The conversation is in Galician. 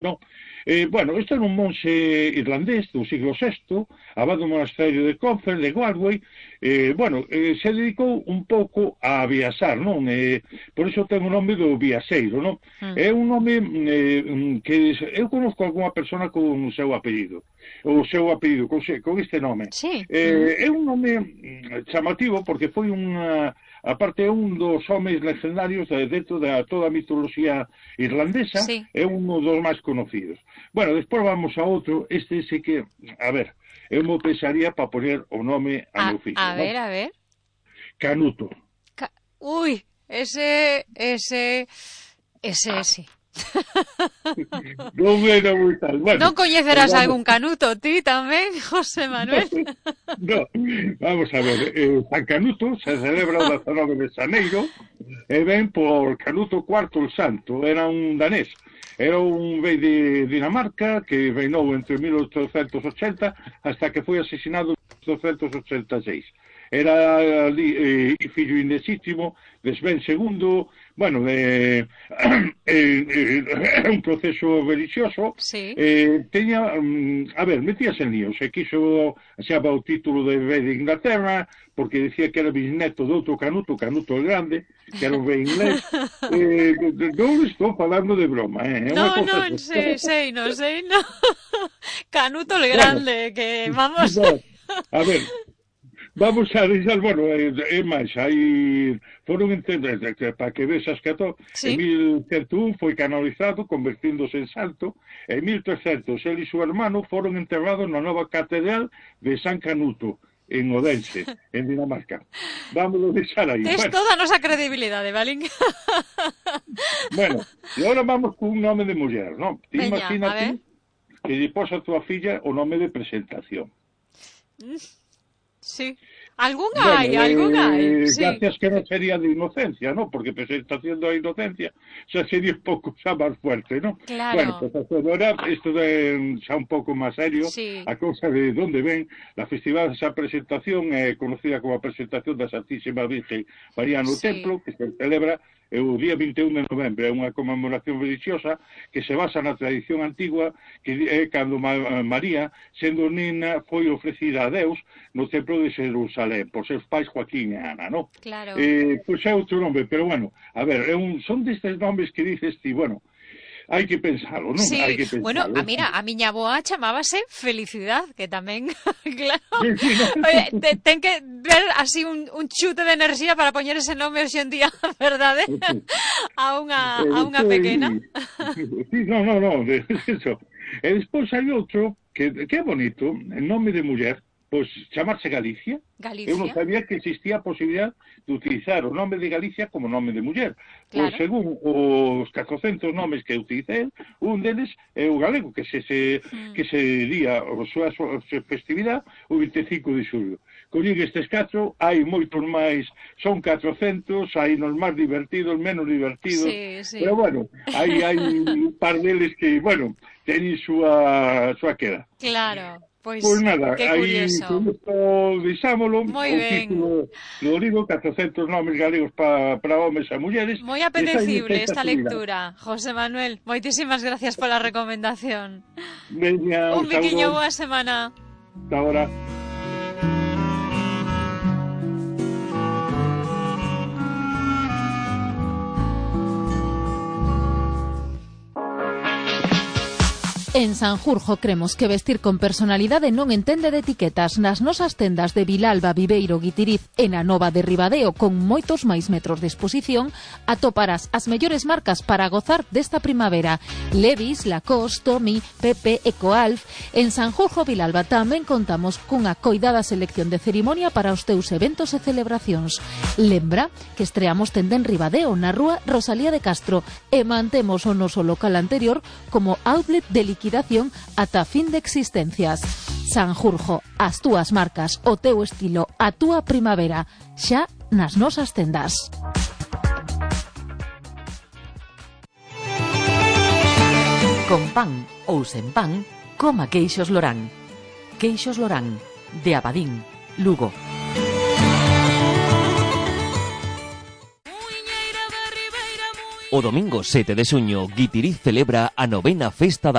non? Bueno, isto era un monxe irlandés do siglo VI, abad do monasterio de Clonfert, de Galway. Se dedicou un pouco a viaxar, non? Por iso ten o nome do viaxeiro, non? É un nome que eu conozco algunha persona con o seu apelido, con este nome. Sí. É un nome chamativo porque foi unha... Aparte, é un dos homes legendarios dentro de toda a mitoloxía irlandesa, sí. É un dos máis conocidos. Bueno, despois vamos a outro, este sí que, a ver, eu me pensaría para poner o nome a meu fillo. A ver, a ver. Canuto. Uy, ese sí. Non era moi tal. Bueno, non coñecerás algún Canuto, ti tamén, José Manuel? No, vamos a ver, San Canuto se celebra o 19 de xaneiro e ven por Canuto IV el Santo, era un danés. Era un rei de Dinamarca que reinou entre 1880 hasta que foi asesinado en 1886. Era fillo ilexítimo de Sven II, bueno, un proceso religioso. Sí. Teña, a ver, metíase en líos, se quiso xaba o título de rei de Inglaterra, porque decía que era bisneto de outro Canuto, Canuto el Grande, que era un rei inglés. Non estou falando de broma, No, sei, no. Canuto el Grande, que vamos... A ver, vamos a deixar, bueno, é máis, foron para que vexas que sí. En 1101 foi canonizado, convertíndose en santo. En 1300, ele e seu hermano foron enterrados na nova catedral de San Canuto, en Odense, en Dinamarca. Vamos a deixar aí. Tes toda a nosa credibilidade, Valín. Bueno, e agora vamos con un nome de muller, non? Imagínate que lle pos a tua filla o nome de presentación. Sí. Algún hai. Sí. Gracias que non sería de inocencia, ¿no? Porque presentación da inocencia xa sería un pouco xa máis fuerte, ¿no? Claro. Bueno, pues agora isto de xa un pouco máis serio, sí. A cousa de onde ven, la festival desa presentación é conocida como a presentación da Santísima Virgen María no Templo, que se celebra o día 21 de novembro. É unha conmemoración religiosa que se basa na tradición antigua, que é cando María, sendo nena, foi ofrecida a Deus no templo de Jerusalén por seus pais Joaquín e Ana, non? Claro. Pois é outro nome, pero bueno, a ver, son destes nomes que dices ti, bueno, hai que pensalo, non? Sí, hai que pensalo. Bueno, mira, a miña boa chamábase Felicidad, que tamén, claro, sí, no. Oye, ten que ver así un chute de enerxía para poñer ese nome hoxe en día, verdade? A unha pequena. Sí, no, eso. E despois hai outro que é bonito, en nome de muller, pois chamarse Galicia. Galicia. Eu non sabía que existía a posibilidad de utilizar o nome de Galicia como nome de muller. Claro. Pois según os 400 nomes que utilicé, un deles é o galego, que se día a súa festividade o 25 de xullo. Collín estes 4, hai moitos máis, son 400, hai nos máis divertidos, menos divertidos, sí. Pero bueno, hai un par deles que, bueno, teñen súa queda. Claro. Pois nada, aí deixámolo, moi ben. Título do libro, 400 nomes galegos para homes e mulleres. Moi apetecible esta lectura, José Manuel. Moitísimas gracias pola recomendación. Veña, un biquiño, boa semana. Hasta ahora. En Sanjurjo cremos que vestir con personalidade non entende de etiquetas. Nas nosas tendas de Vilalba, Viveiro, Guitiriz e na Nova de Ribadeo, con moitos máis metros de exposición, atoparás as mellores marcas para gozar desta primavera. Levi's, Lacoste, Tommy, Pepe, Ecoalf. En Sanjurjo, Vilalba, tamén contamos cunha coidada selección de cerimonia para os teus eventos e celebracións. Lembra que estreamos tenda en Ribadeo, na rúa Rosalía de Castro, e mantemos o noso local anterior como outlet de liquidación ata fin de existencias. Sanjurjo, as túas marcas, o teu estilo, a túa primavera, xa nas nosas tendas. Con pan ou sen pan, coma queixos Lorán. Queixos Lorán, de Abadín, Lugo. O domingo 7 de xuño, Guitiriz celebra a 9ª Festa da